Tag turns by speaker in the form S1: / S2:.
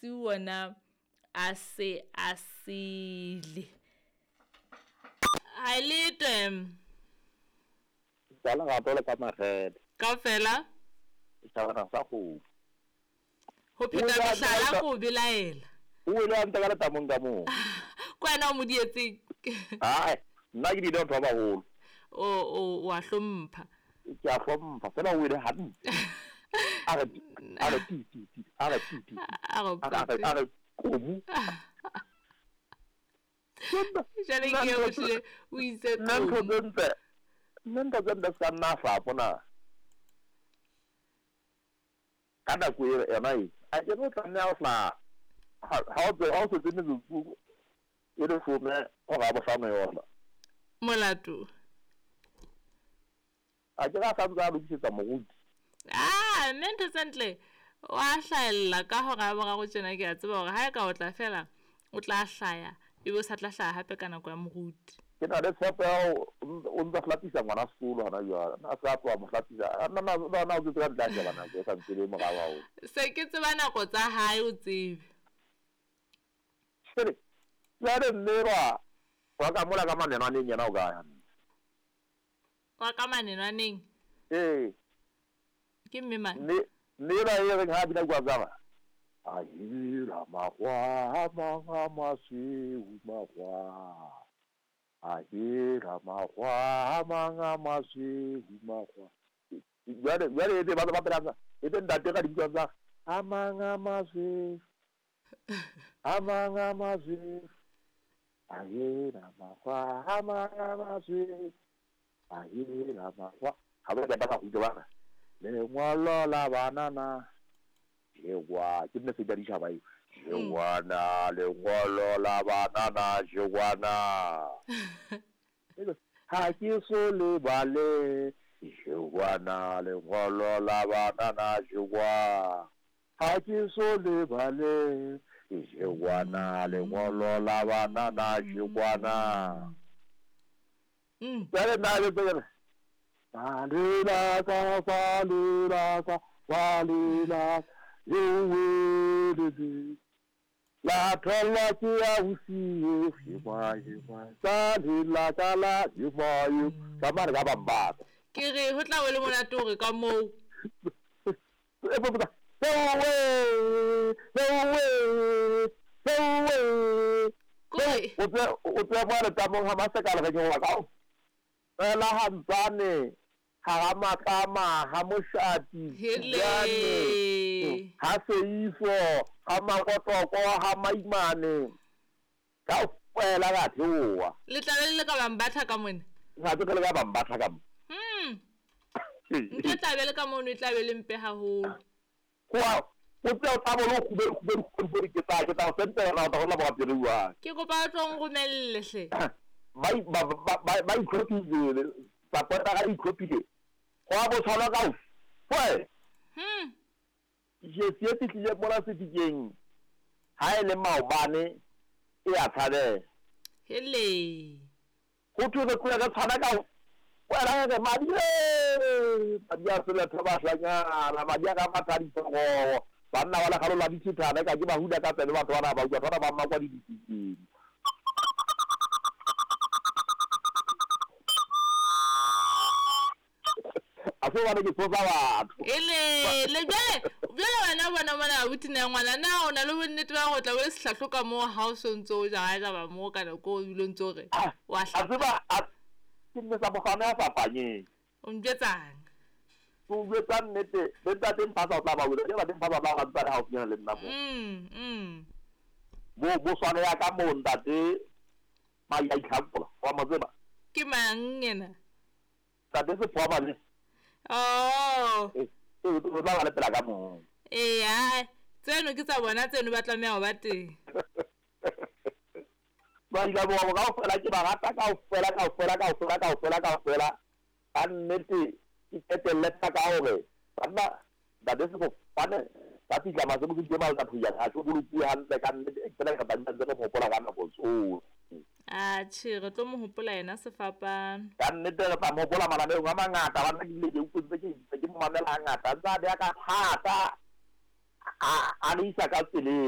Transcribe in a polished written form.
S1: Masiu ona a se a sele. Ha e letwe.
S2: Ka lerato le ka makgethe.
S1: Kaofela.
S2: Setjhabana sa kgomo.
S1: Ho pheta mehlala ko belaela.
S2: O wele hantle ka letamong ka moo.
S1: Ke wena o mo dietseng.
S2: Ae, nna ke dile batho ba baholo.
S1: O o a hlompha.
S2: Ke a hlompha, fela o wele hantle. A re a re ti ti ti, a re ti ti. A re komu.
S1: Jwale ke o hlile o itse
S2: komu. Nna ntho tse ntle se ka nna hlapo na. Ka nako e yona e, a ke re o tlameha ho hlaha ha o setse metsotso e leshome hora ya bohlano yona.
S1: Molato.
S2: A ke re a santse a lokisetsa moruti.
S1: Ah, mme ntho tse ntle wa hlahella ka hora ya boraro tjena ke a tseba hore ha e ka o tla fela o tla hlaya ebe o sa tla hlaya hape ka nako ya moruti.
S2: Ke na le tshepo ya hore o ntsa hlapisa ngwana sekolo hona jwale. Na se a tloha mo hlapisa. Na na na o tsetse ka ntle a sheba nako e sa ntse le morao haholo.
S1: Se ke tseba nako tsa hae o tsebe.
S2: Jwale jwale mme elwa wa ka mola ka manenwaneng yena o kae hantle?
S1: Wa ka manenwaneng?
S2: Ee.
S1: Ke mme mang?
S2: Mme mme elwa e reng ha bina kwa tsaba. A hira makgwa a mang a masweu makgwa. A hira makgwa a mang a masweu makgwa. Jwale jwale ebe ba ba pela ebe ntate ka dibitswa tsa a mang a masweu a mang a masweu a hira makgwa a mang a masweu a hira makgwa ha ba ba ka kgutla ba lengwalo la banana jegwa ke nne se ditšhaba eo jegwana lengwalo la banana jegwana ha ke so lebale jegwana lengwalo la banana jegwa ha ke so lebale jegwana lengwalo la banana jegwana. Jwale nna ke tsere ba lelaka ba lelaka ba lelaka le weletse la thollwa ke ya bosiu hema hema sa lelaka la hema yo ka mare ka bambata.
S1: Ke re ho tla be le monate hore ka moo.
S2: O tseba mo letamong ha masekala re nyowa ka fela hantsane ha matlama ha moshati
S1: hele
S2: ha seifo ha makotoko ha maimane ka fela ka theoha.
S1: Le tla be le ka bambatha ka mona.
S2: Ha ke le ka bambatha ka mo.
S1: Ntho tla be le ka mono e tla be le mpe haholo.
S2: Kwa o tla o tla bo kgube kgube kgube ke tla o sentela ra go la ba pele wa.
S1: Ke kopa o tlo nromelle hle.
S2: Ba itlhophile support-a ga itlhophile go a bo tshwana ka foe. Jesi e fihlile mona sefikeng ha e le maobane e a tshabeha.
S1: Hele.
S2: Ho thwe re tlohe re tshwana ka wena re madi madi a seletho bahlanyana madi a ka matha ditsorogo banna ba lekgalo la dithethana ka ke ba hula ka tsebe batho bana ba utlwa batho bana ba mmakwa di difikeng. A se bana ke tsotsa batho.
S1: Ele le jwale jwale wena bona mona abuti na ngwana na o na le bonnete ba go tla o le sehlahlo ka moo ha o sontso o jara ba mo ka nako o bile o ntso re wa
S2: A tseba ke nne sa mokgwana ya fapanyeng.
S1: O mpjetsang?
S2: Ke o jwetsa nnete, le ntate Mphasa o tla ba wela, ke ntate Mphasa o tla ba ntse a le haufinyana le nna mo. Bo swane ya ka moo ntate Mai a itlhakola, wa mo tseba?
S1: Ke mang yena?
S2: Ntate Sephoa Mane.
S1: Oh.
S2: O tla ba le pela ka moo.
S1: Ee, hai. Tseno ke tsa bona tseno ba tlameha ho ba teng.
S2: Ba ile ba kaofela ke ba rata kaofela kaofela kaofela kaofela kaofela. Ka nnete ke qetelle ka hore banna ntate Sefofane ba fihla masebotsi ke ba tla phunya ha tlo bolokuwe hantle ka nnete e fela re tla ntse re mo hopola ka nako tsohle.
S1: Atjhe, re tlo mo hopola yena sefapano.
S2: Ka nnete re tla mo hopola mananeong a mangata banna ke bile ke utlwe ntse ke mo mamela hangata ntse a beha ka thata a re isa ka tseleng.